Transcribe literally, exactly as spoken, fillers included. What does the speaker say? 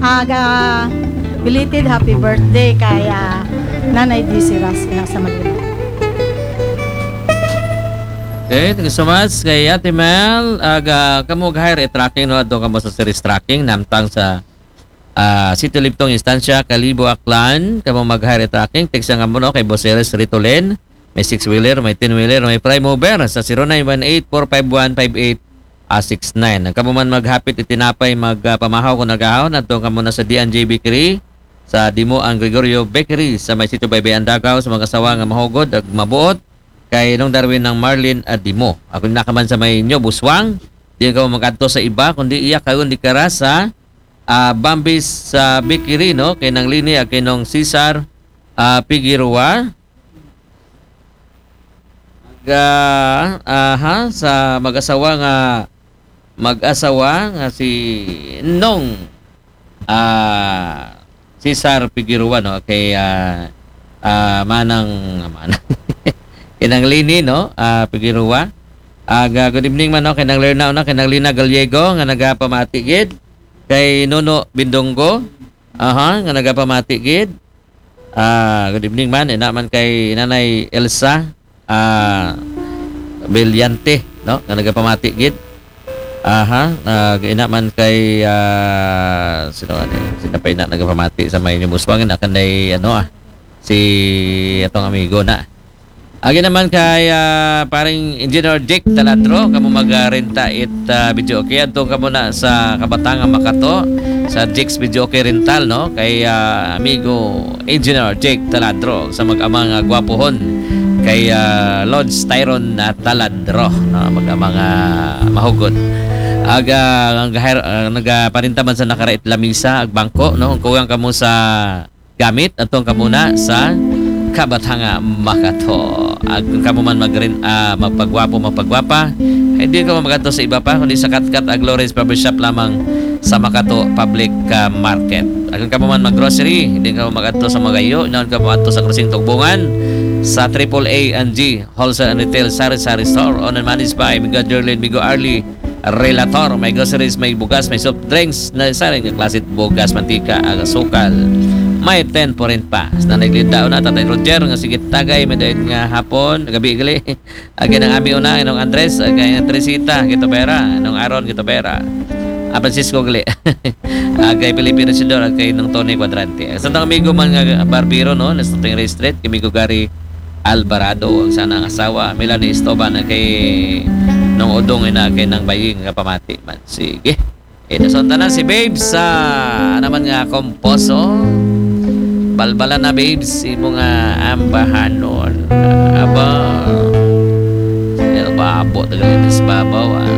Aga, belated happy birthday kay, ah, Nanay Dizzy Ras, ina sa Malino. Okay, thank you so much kay Ate Mel. Aga, kamo mag-hire e trucking, no? Adto kamo sa Series Trucking, namtang sa ah, Sitio Libtong, Estancia, Kalibo, Aklan. Kamo mag-hire e trucking, text nga mo, no, kay Boss Eres Ritolen. May six-wheeler, may ten-wheeler, may prime mover sa zero nine one eight four five one five eight six nine. Ang kamo man maghapit it tinapay, magpamahaw kon nagahon, adto kamo na sa D and J Bakery, sa Dimo ang Gregorio Bakery, sa may Sitio Baybayan, Dagaw, sa mag-asawa nga mahugod ag mabuot, kay Nong Darwin nang Marlin a Dimo. Ako na ka man sa may New Buswang, di kamo mag-adto sa iba, kundi iya karon di kara sa, ah, Bambis sa Bakery, no? Kay Nang Lini ag kay Nong Cesar, ah, Figueroa. Aga, aha, sa mag-asawa nga, mag-asawa nga si Nong, ah, Cesar Figueroa, no? Kay, ah, ah, manang, manang, kay Nang Lini, no? Ah, Figueroa. Aga, good evening man, no? Kay Nang Lerna, no? Kay Nang Lina Gallego nga nagapamati gid. Kay Nuno Bindonggo, aha, nga nagapamati gid. Ah, good evening man. Ina man kay Nanay Elsa, ah, Brillante, no? Nga nagapamati gid. Aha, ah, ina man kay, ah, sino ani? Sino pa ina nagapamati sa may New Buswang? Ina kanay, ano, ah, si atong amigo na. Agi naman kay, ah, paring Engineer Jake Taladro, kamo magrenta it, ah, video okay. Adto kamo na sa Kabatangan Makato, sa Jake's Video Okay Rental, no? Kay, ah, amigo Engineer Jake Taladro, sa mag-amang, ah, gwapuhon. Kay, ah, Lodge Tyron na Taladro, no? Mag-amang, ah, mahugod. Aga, ang gahir, ah, nagaparinta man sa nakarait lamisa, ag bangko, no? Kung kuwang kamo sa gamit, adto kamo na sa Kabatangan Makato. Ag kung kamo man magrin, ah, magpagwapo, magpagwapa, ay di kamo magadto sa iba pa, kundi sa Katkat ag Lawrence Barbershop lamang sa Makato Public, ah, Market. Ag kung kamo man mag-grocery, di kamo magadto sa Magayo, inaon kamo adto sa Crossing Tugbungan, sa Triple A and G Wholesale and Retail Sari Sari Store, owned and managed by Migo Jerlyn, Migo Arlie, Relator, may groceries, may bugas, may soft drinks, na saring nga klase bugas, mantika, ag asukal. May ten foreign pa. Sa nanay Glinda una, Tatay Roger, nga sige tagay, may dayon nga hapon, gabi gali. Agi nang ami una, Inong Andres, agi nang Teresita, Quitobera, Inong Aaron, Quitobera. Ah, Francisco gali. Agi Felipe Regidor, agi Inong Tony Cuadrante. Sa tang amigo man nga barbero, no, na sa Tingray Street, kay Migo Gary Alvarado, ang sana ang asawa, Melanie Estoban, agi Nong Udong, ina kay Nang Baying, nga pamati man. Sige. Ito sa tanan si Babes sa naman nga komposo. Balbala na, Babes, imo nga ambahanon. Aba. El Babo, tagalinis babaw, ah.